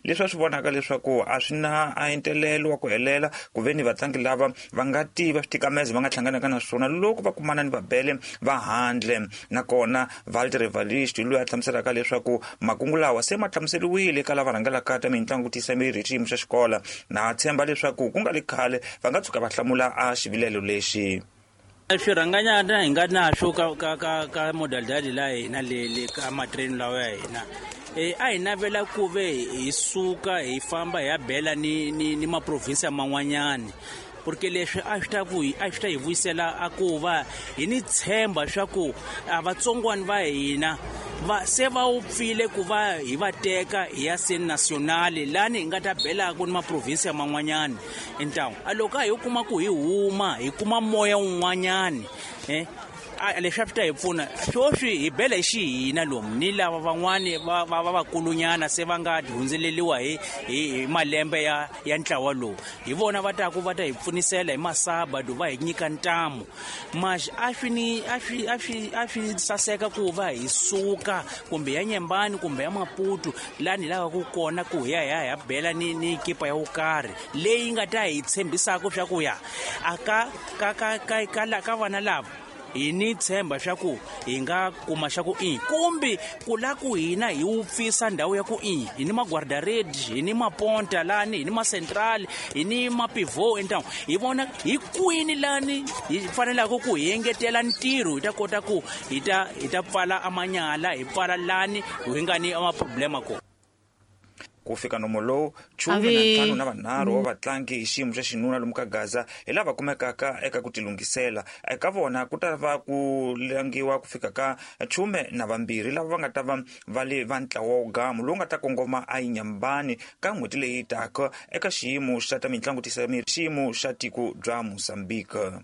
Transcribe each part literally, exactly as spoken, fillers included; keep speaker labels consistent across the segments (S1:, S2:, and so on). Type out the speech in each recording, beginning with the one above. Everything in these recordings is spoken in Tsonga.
S1: Leswi a swi vonaka leswaku a swi na a entelelo wa ku helela ku ve ni vatlangi lava va nga tiva switikamezo va nga hlanganaka na swona loko va kumana ni vabele va handle. Nakona Walter Evarist loyi a hlamuselaka leswaku makungu lawa se ma hlamuseriwile eka lava rhangelaka ta mitlangu ku tiyisa miri hi xiyimo xa xikolo, na tshemba leswaku ku nga le khale va nga tshuka va hlamula a xivilelo lexi.
S2: Swirhanganyana hi nga na swo ka ka ka ka modalidali la hina le le ka matreni lawa ya hina, e a hi navela ku ve hi suka hi famba hi ya bela ni ni ni maprovinsi man'wanyani, porque leswi a swi ta ku a swi ta hi vuyisela a ku va hi ni tshemba swa ku a vatsongwani va hina va se va wupfile ku va hi va teka hi ya se nationale lani hi nga ta belaka ni maprovinsi man'wanyani. Ntawu a loko a hi kuma ku hi huma hi kuma moya wun'wanyani, eh a leswi a swi ta hi pfuna. Sweswi hi bela hi xihina lomu ni lava van'wani va va va vakulunyana se va nga hundzeleriwa hi hi malembe ya ya ntlawa lowu, hi vona va taku va ta hi pfunisela hi masabado va hi nyika ntamu. Mas a swi ni a swi a swi a swi saseka ku va hi suka kumbe ya Nyembani kumbe ya Maputo lani hi lavaka kona ku hi ya hi ya hi ya bela ni ni kipa ya wo karhi leyi nga ta hi tshembisaka swa ku ya a ka ka ka ka ka ka vana lava hi ni tshemba swa ku hi nga kuma xa ku i kumbe ku la ku hina hi wupfisa ndhawu ya ku i hi ni maguarda-redi, hi ni maponta lani, hi ni ma-central, hi ni ma-pivot entangu, hi vona hi kwini lani hi fanelaka ku hi engetela ntirho hi ta kota ku hi ta hi ta pfala amanyala, hi pfala lani hi nga ni ama-problema kona.
S1: Ku fika nomo lowu chume na ntlhanu na vanharhu wa vatlangi hi xiyimo xa xinuna lomu ka Gaza hi lava kumekaka eka ku tilunghisela. Eka vona ku ta va ku langiwa ku fika ka chume na vambirhi lava va nga ta va va le va ntlawa wo gamu lowu nga ta kongoma a Inyambani ka n'hweti leyi taka eka xiyimo xa ta mitlangu tisa miri xiyimo xa tiko bya Mozambique.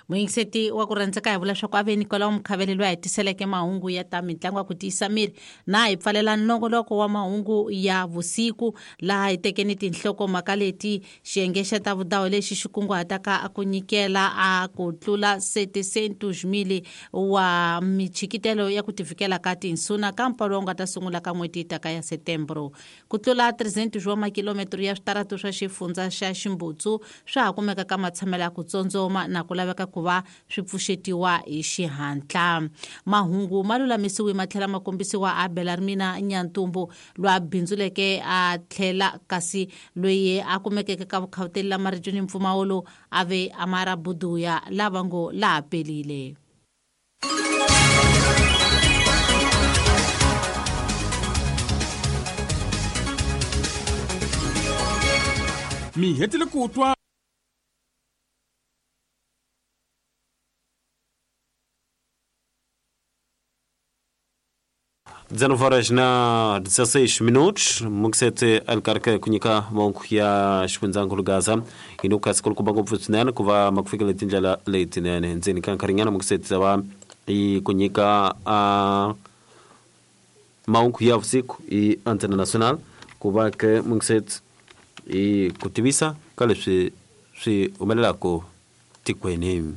S3: Muyingiseti wa ku rhandzeka, hi vula swa ku a ve Nicolau Mukhavele loyi a hi tiseleke mahungu ya ta mitlangu ya ku tiyisa miri, na hi pfalela nongoloko wa mahungu ya vusiku laha hi tekeni tinhlokomhaka leti: xiyenge xa ta vudawu lexi xi kunguhataka ku nyikela a ku tlula setecentos mili wa michikitelo ya ku tivikela ka tinsuna ka mpfalo wu nga ta sungula ka n'hweti taka ya Setembro. Ku tlula trezentos wa makilometro ya switaratu swa xifundza xa Ximbutsu swa ha kumeka ka matshamelo ya ku tsondzoma na ku laveka ku va swi pfuxetiwa hi xihatla. Mahungu ma lulamisiwe ma tlhela ma kombisiwa a Belarmina Nyantumbu loyi a bindzuleke a tlhela kasi loyi a kumekeke ka vukhawuteli la marito ni mpfumawulo a ve Amara Buduya lava ngo laha pelile.
S4: Mi hetile ku twa
S5: dezenove horas na dezesseis minutos, Muxete Alcarque kunyika mahungu ya xifundzankulu Gaza inuka sikulukumba ngopfu swinene ku va makufikele tindlela letinene ndzeni ka nkarhinyana. Muxete va i kunyika a mahungu ya vusiku i Antena Nacional ku va ke Muxete i ku tivisa ka leswi swi humelelaka tikweni.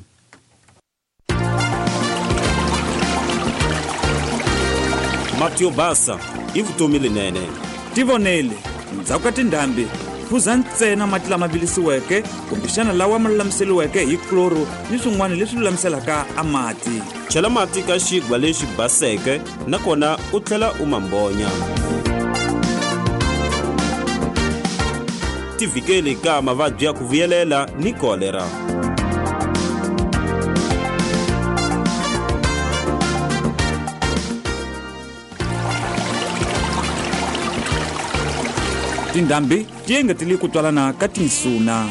S5: Mati yo basa i vutomi lenene.
S4: Tivonele ndzhaku ka tindhambi, phuza ntsena mati lama vilisiweke kumbexana lawa ma lulamiseriweke hi kloro ni swin'wana leswi lulamiselaka a mati.
S5: Chela mati ka xigwa lexi baseke nakona u tlhela u ma mbonya. Tivikeli ka mavabyi ya ku vuyelela ni kolera.
S4: Tindhambi ti engetele ku twalana ka tinsuna.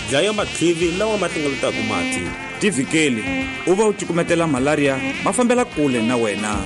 S5: Dlaya matlivi lawa ma hlengeletaka mati.
S4: Tivikeli u va u cukumetela malaria ma fambela kule na wena.